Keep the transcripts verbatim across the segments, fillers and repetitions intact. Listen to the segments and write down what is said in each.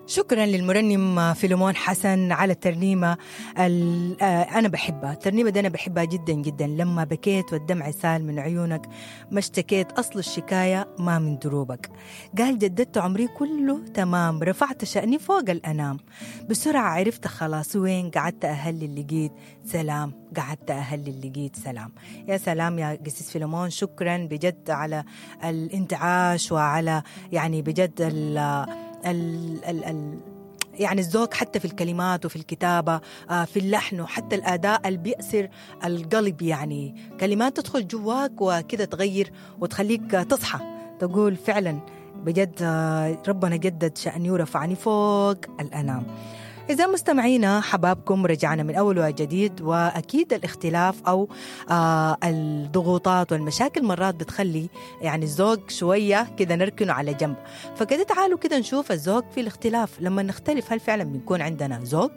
شكرا للمرنم فيلمون حسن على الترنيمة ال- آه، أنا بحبها. الترنيمة دي أنا بحبها جدا جدا. لما بكيت والدمع سال من عيونك، ما اشتكيت أصل الشكاية ما من دروبك. قال جددت عمري كله تمام، رفعت شأني فوق الأنام، بسرعة عرفت خلاص وين قعدت أهلي لقيت سلام، قعدت أهلي لقيت سلام. يا سلام يا قسيس فيلمون، شكرا بجد على الانتعاش وعلى يعني بجد ال ال ال ال يعني الذوق حتى في الكلمات وفي الكتابة، آه، في اللحن وحتى الأداء اللي بيأسر القلب، يعني كلمات تدخل جواك وكده تغير وتخليك تصحى تقول فعلا بجد آه، ربنا جدد شأني ورفعني فوق الأنام. إذا مستمعينا حبابكم رجعنا من أول وجديد، وأكيد الاختلاف أو آه الضغوطات والمشاكل مرات بتخلي يعني الزوج شوية كده نركنه على جنب. فكده تعالوا كده نشوف الزوج في الاختلاف، لما نختلف هل فعلا بنكون عندنا زوج؟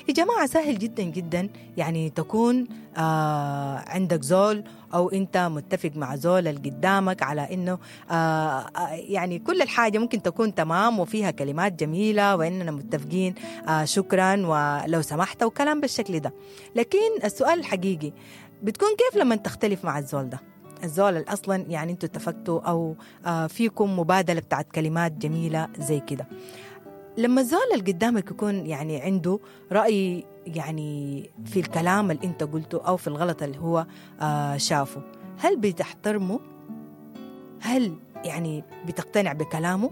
يا جماعة سهل جدا جدا يعني تكون آه عندك زول أو أنت متفق مع زول اللي قدامك على إنه آه يعني كل الحاجة ممكن تكون تمام وفيها كلمات جميلة وإننا متفقين، آه شكرا ولو سمحت وكلام بالشكل ده. لكن السؤال الحقيقي بتكون كيف لما تختلف مع الزول ده؟ الزول اللي أصلا يعني أنتوا اتفقتوا أو آه فيكم مبادلة بتاعت كلمات جميلة زي كده، لما الزول اللي قدامك يكون يعني عنده رأي يعني في الكلام اللي انت قلته أو في الغلط اللي هو آه شافه، هل بتحترمه؟ هل يعني بتقتنع بكلامه؟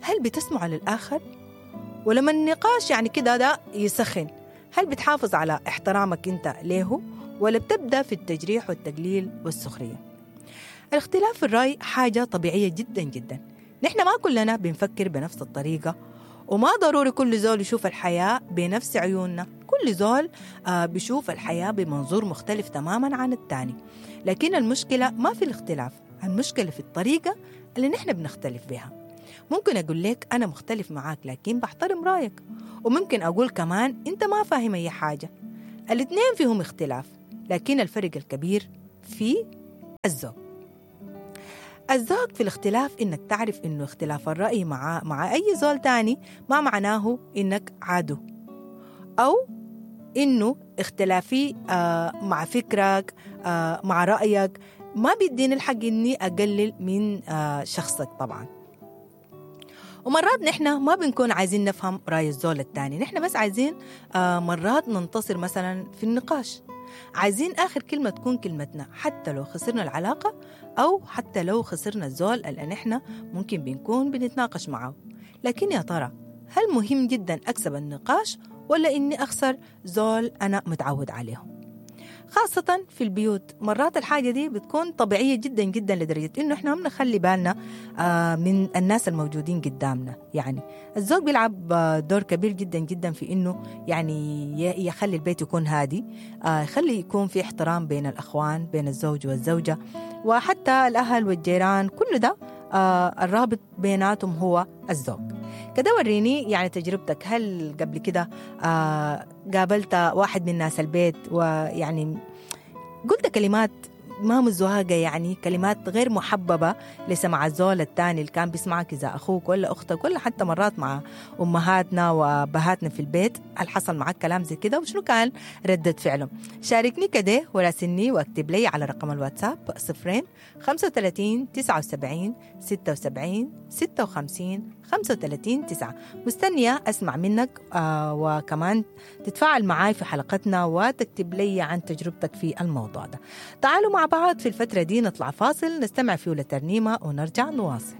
هل بتسمع للآخر؟ ولما النقاش يعني كده ده يسخن، هل بتحافظ على احترامك انت ليه ولا بتبدأ في التجريح والتقليل والسخرية؟ الاختلاف في الرأي حاجة طبيعية جدا جدا، نحن ما كلنا بنفكر بنفس الطريقة، وما ضروري كل زول يشوف الحياة بنفس عيوننا، كل زول آه بيشوف الحياة بمنظور مختلف تماما عن الثاني. لكن المشكلة ما في الاختلاف، المشكلة في الطريقة اللي نحن بنختلف بها. ممكن أقول لك أنا مختلف معاك لكن بحترم رأيك، وممكن أقول كمان أنت ما فاهم أي حاجة. الاثنين فيهم اختلاف، لكن الفرق الكبير في الذوق. الذوق في الاختلاف إنك تعرف إنه اختلاف الرأي مع مع أي زول تاني ما معناه إنك عدو، أو إنه اختلافي آه مع فكرك آه مع رأيك ما بيديني الحق إني أقلل من آه شخصك طبعا. ومرات نحن ما بنكون عايزين نفهم رأي الزول التاني، نحن بس عايزين آه مرات ننتصر مثلا في النقاش، عايزين آخر كلمة تكون كلمتنا حتى لو خسرنا العلاقة أو حتى لو خسرنا الزول اللي نحن ممكن بنكون بنتناقش معه. لكن يا ترى هل مهم جدا أكسب النقاش ولا إني أخسر زول أنا متعود عليه؟ خاصة في البيوت مرات الحاجة دي بتكون طبيعية جدا جدا لدرجة إنه إحنا ما بنخلي بالنا من الناس الموجودين قدامنا. يعني الزوج بيلعب دور كبير جدا جدا في إنه يعني يخلي البيت يكون هادي، يخلي يكون في احترام بين الأخوان، بين الزوج والزوجة، وحتى الأهل والجيران، كل ده الرابط بيناتهم هو الزوج. كده وريني يعني تجربتك، هل قبل كده قابلت واحد من ناس البيت ويعني قلت كلمات ما مزواجة، يعني كلمات غير محببة لسمع الزول الثاني اللي كان بيسمعك، إذا أخوك ولا أختك ولا حتى مرات مع أمهاتنا وأبهاتنا في البيت، هل حصل معك كلام زي كده وشنو كان ردة فعلهم؟ شاركني كده وراسلني واكتب لي على رقم الواتساب صفرين خمسة وثلاثين تسعة وسبعين ستة وسبعين ستة وخمسين خمسة وثلاثين تسعة. مستنية أسمع منك آه وكمان تتفاعل معاي في حلقتنا وتكتب لي عن تجربتك في الموضوع ده. تعالوا مع بعض في الفترة دي نطلع فاصل نستمع فيه لترنيمة ونرجع نواصل.